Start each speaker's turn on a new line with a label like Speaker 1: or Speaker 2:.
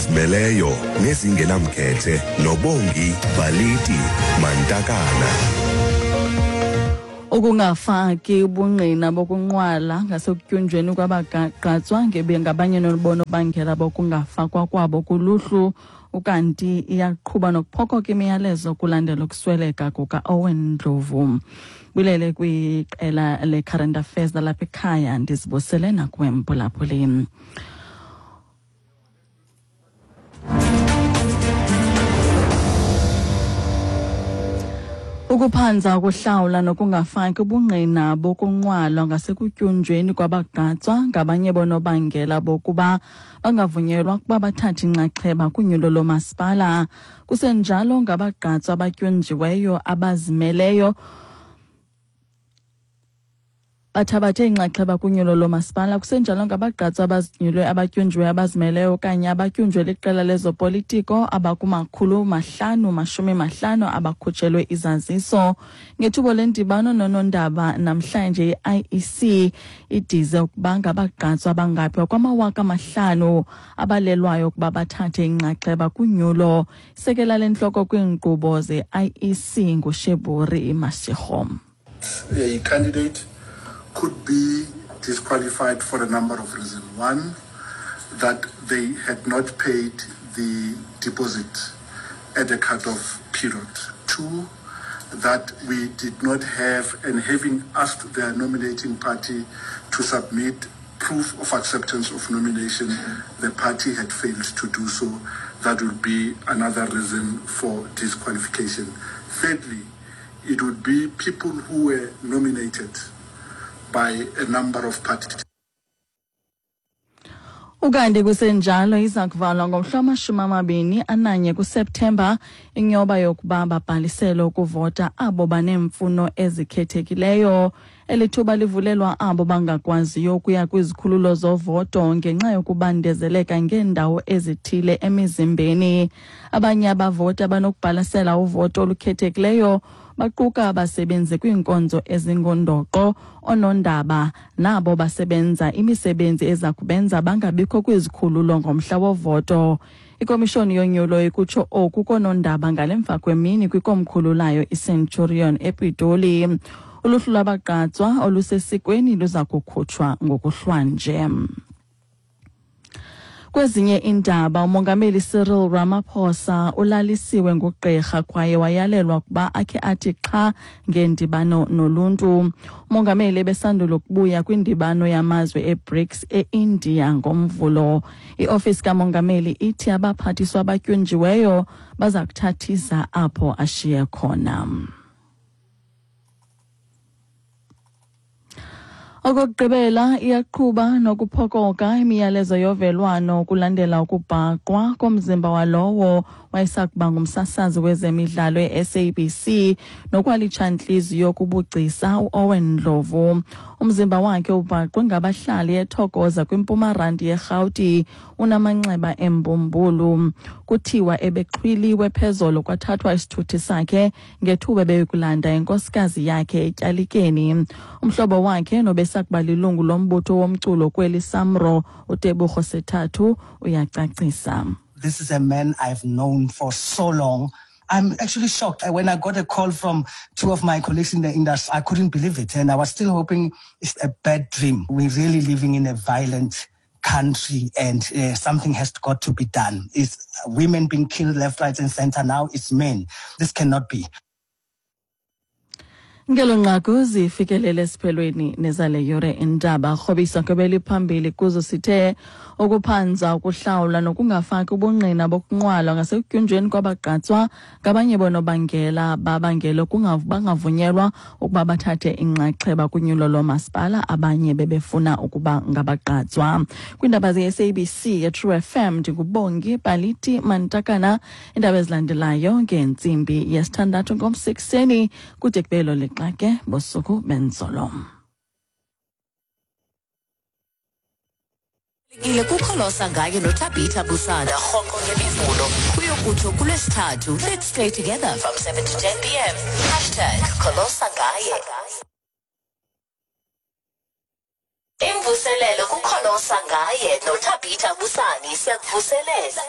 Speaker 1: Ezizimeleyo nezingenamkhethe noBongi Baliti Mantakana.
Speaker 2: Ukungafaki ubungqina bokunqwala ngasekutyunjweni kwabagqatswa ngabanye nobonobangela bokungafakwa kwabo kuluhlu. Ukanti iyaqhuba nokuphokoka imiyalezo kulandela ukusweleka kuka-Owen Ndlovu. Bulele kwiqela le-Current Affairs lalapha ekhaya, ndizibusele nakuwe mphulaphuli. Ukuphanza ukuhlawula nokungafaki ubungqina bokunqwalwa ngasekutyunjweni kwabagqatswa ngabanye bonobangela bokuba bangavunyelwa ukuba bathathe inxaxheba kunyulo lomasipala. Kusenjalo ngabagqatswa abatyunjiweyo abazimeleyo bathabathe inxaxheba kunyulo lomasipala. Kusenjalo ngabagqatswa abazinyulwe abatyunjiweyo abazimeleyo okanye abatyunjwe liqela lezopolitiko abakumakhulu 550 abakhutshelwe izaziso. Ngethuba lendibano nonondaba namhlanje, i-IEC idize ukuba ngabagqatswa abangaphi kwama-5,000 abalelwayo ukuba bathathe inxaxheba kunyulo. Isekela lentloko kwiinkqubo ze-IEC nguSheburi Mashego.
Speaker 3: A candidate could be disqualified for a number of reasons. One, that they had not paid the deposit at the cutoff period. Two, that we did not have, and having asked their nominating party to submit proof of acceptance of nomination, the party had failed to do so. That would be another reason for disqualification. Thirdly, it would be people who were nominated by a number of parties.
Speaker 2: Ukanti kusenjalo, iza kuvalwa ngomhla wama-21 kuSeptemba inyoba yokuba babhalisele ukuvota abo baneemfuno ezikhethekileyo. Eli thuba livulelwa abo bangakwaziyo ukuya kwizikhululo zovoto ngenxa yokubandezeleka ngeendawo ezithile emizimbeni. Abanye abavoti abanokubhalisela uvoto olukhethekileyo baquka abasebenzi kwiinkonzo ezingundoqo, oonondaba nabo basebenza imisebenzi eza kubenza bangabikho kwizikhululo ngomhla wovoto. Ikomishoni yonyulo ikutsho oku koonondaba ngale mva kwemini kwikomkhulu layo iCenturion ePitoli. Uluhlu lwabagqatswa olusesikweni luza kukhutshwa ngokuhlwanje. Kwezinye iindaba, uMongameli Cyril Ramaphosa ulalisiwe ngugqirha kwaye wayalelwa ukuba akhe athi xha ngendibano noluntu. Umongameli ebesandula ukubuya kwindibano yamazwe eBRICS eIndia ngoMvulo. Iofisi kamongameli ithi abaphathiswa abatyunjiweyo baza kuthathisa apho ashiye khona. Okokugqibela, iyaqhuba nokuphokoka imiyalezo yovelwano kulandela ukubhaqwa komzimba walowo wayesakuba ngumsasazi wezemidlalo e-SABC nokwalitshantliziyo kubugcisa uOwen Ndlovu. Umzimba wakhe ubhaqwe ngabahlali eThokoza kwiMpuma Randi yeRhawuti, unamanxeba embumbulu. Kuthiwa ebexhwiliwe phezolo kwathathwa isithuthi sakhe ngethuba ebeyokulanda inkosikazi yakhe etyalikeni. Umhlobo wakhe nobesakuba lilungu lombutho womculo kweli Samro, uTebogo Sethathu, uyacacisa.
Speaker 4: This is a man I've known for so long. I'm actually shocked. When I got a call from two of my colleagues in the industry, I couldn't believe it. And I was still hoping it's a bad dream. We're really living in a violent country and something has got to be done. It's women being killed left, right and center. Now it's men. This cannot be.
Speaker 2: Ngelo nqaku zifikelele esiphelweni nezale yure indaba. Rhobisa kwebeliphambili kuzo sithe ukuphanza ukuhlawula nokungafaki ubungqina bokunqwalwa ngasekutyunjweni kwabagqatswa ngabanye bonobangela babangela bangavunyelwa ukuba bathathe inxaxheba kunyulo lomasipala, abanye bebefuna ukuba ngabagqatswa. Kwiindaba ze-SABC yeTrue FM, ndinguBongi Baliti Mantakana. Iindaba ezilandelayo ngentsimbi yesithandathu ngomsekuseni, kude kubelo lixa ke bosuku benzolo.
Speaker 5: Ile kukholosa ngaye noTabitha Busana rhoqo ngemivulo kuyokutsho kulwesithathu. Let's stay together from 7 to 10 p.m. #KholosaNgaye. Imvuselelo kukholosa ngaye noThabitha Busani siyakuvuselela.